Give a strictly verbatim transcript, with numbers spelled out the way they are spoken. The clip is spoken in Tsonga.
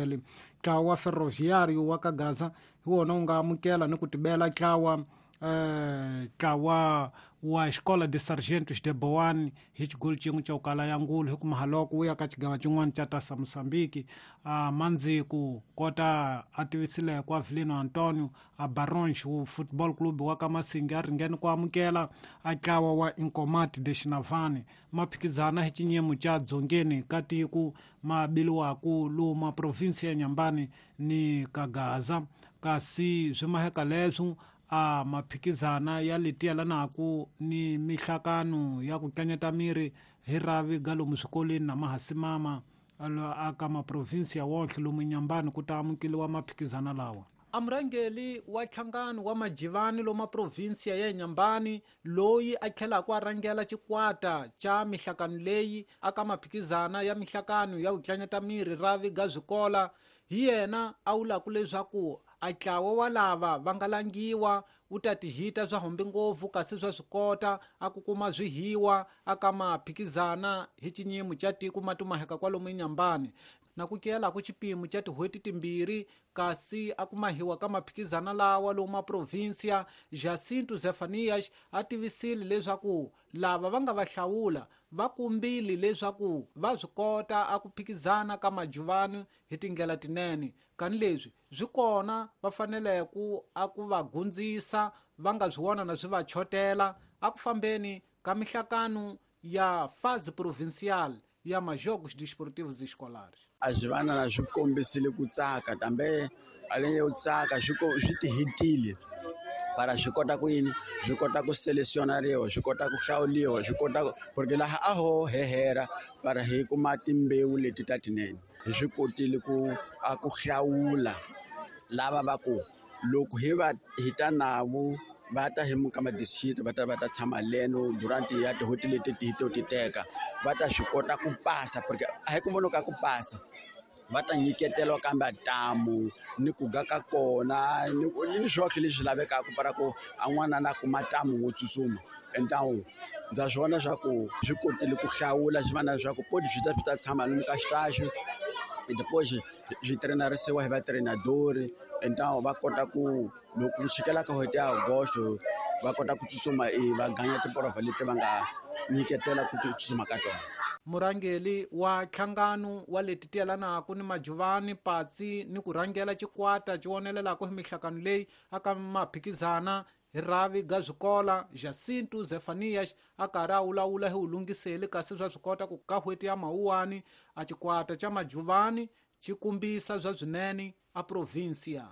Ntlawa wa Ferroviário wa ka Gaza hi wona wu nga amukela ni ku tibela ntlawa ntlawa wa Escola de Sargentos de Boane hi xigolo xin'we xa ku kala ya ngulu hi ku mahaloko wu ya ka xigava xin'wana xa Tasa Mozambique. A mandziku kota a tivisile ku Avelino Antonio a Barões Football Club wa ka Masingi a ringene ku amukela a ntlawa wa Incomat de Xinavane. Ma phikizana hi xinyimo xa dzongeni ka tiko ma biliwaku luma provinsi ya Nyambani ni ka Gaza, kasi swi maheka leswo a maphikizana ya leti yelanaka ni mihlakano ya ku tlanyeta miri hi ravi ga lomu swikolweni na mahasimama aka maprovinsi ya wonhle lomu Nyambani ku ta amukeliwa maphikizana lawa. A murhangeri wa nhlangano wa majivani lomu provinsiya ya Nyambani loyi a tlhelaka a rhangela xikwata xa mihlakano leyi aka maphikizana ya mihlakano ya ku tlanyeta miri ravi ga swikola, hi yena a vulaka leswaku a ntlawa wa lava va nga langiwa wu ta tihita swa hombe ngopfu kasi swa swi kota a ku kuma swihiwa aka maphikizana hi xinyimo xa tiko ma tumaheka kwalomu eNyambani na ku kiyelaku xipimo xa tin'hweti timbirhi kasi a ku mahiwa ka maphikizana lawa lomu maprovinsiya. Jacinto Zefanias a tivisile leswaku lava va nga va hlawula va kumbile leswaku va swi kota a ku phikizana ka majuvani hi tindlela tinene, kani leswi swi kona va fanele ku a ku va gundzisa va nga swi vona na swi va chotela a ku fambeni ka mihlakano ya fase provincial ya majogos desportivos escolares. A swi vana na swi kombisile ku tsaka kambe a le u tsaka swi swi tihitile para swi kota ku yini, swi kota ku selecionariwa, swi kota ku hlawuliwa, swi kota porque laha a ho hehera para hi kuma timbewu leti ta tinene. Hi swi kotile ku a ku hlawula lava va ku loko hi va hi ta navo va ta hi muka ma-district va ta va ta tshama leno durant ya tin'hweti leti ti to ti teka va ta swi kota ku pasa porque a hi ku vona ka ku pasa va ta nyiketeliwa kambe ntamu ni ku ga ka kona ni ni swoxe leswi lavekaka para ku a n'wana na kuma ntamu wo tsutsuma. Entawu ndza swi vona swa ku swi kotile ku hlawula swi va na leswaku poti swi ta swi ta tshama lomu ka xitaxi depois swi trainarisiwa hi va trainadori entawu va kota ku loko ku chikela ka n'hweti ya Agosto va kota ku tsutsuma e va ganya tiporovha leti va nga nyiketela ku tsutsuma ka tona. Murhangeri wa nhlangano wa leti ti yelanaka ni majuvani patsi ni ku rhangela xikwata xi vonelelaka hi mihlakano leyi aka maphikizana hi ravi ga swikola Jacinto Zefanias a karhi a vulavula hi vulungiseli kasi swa swi kota ku ka n'hweti ya Mawuwani a xikwata xa majuvani xi kumbisa swa swinene a provinsia.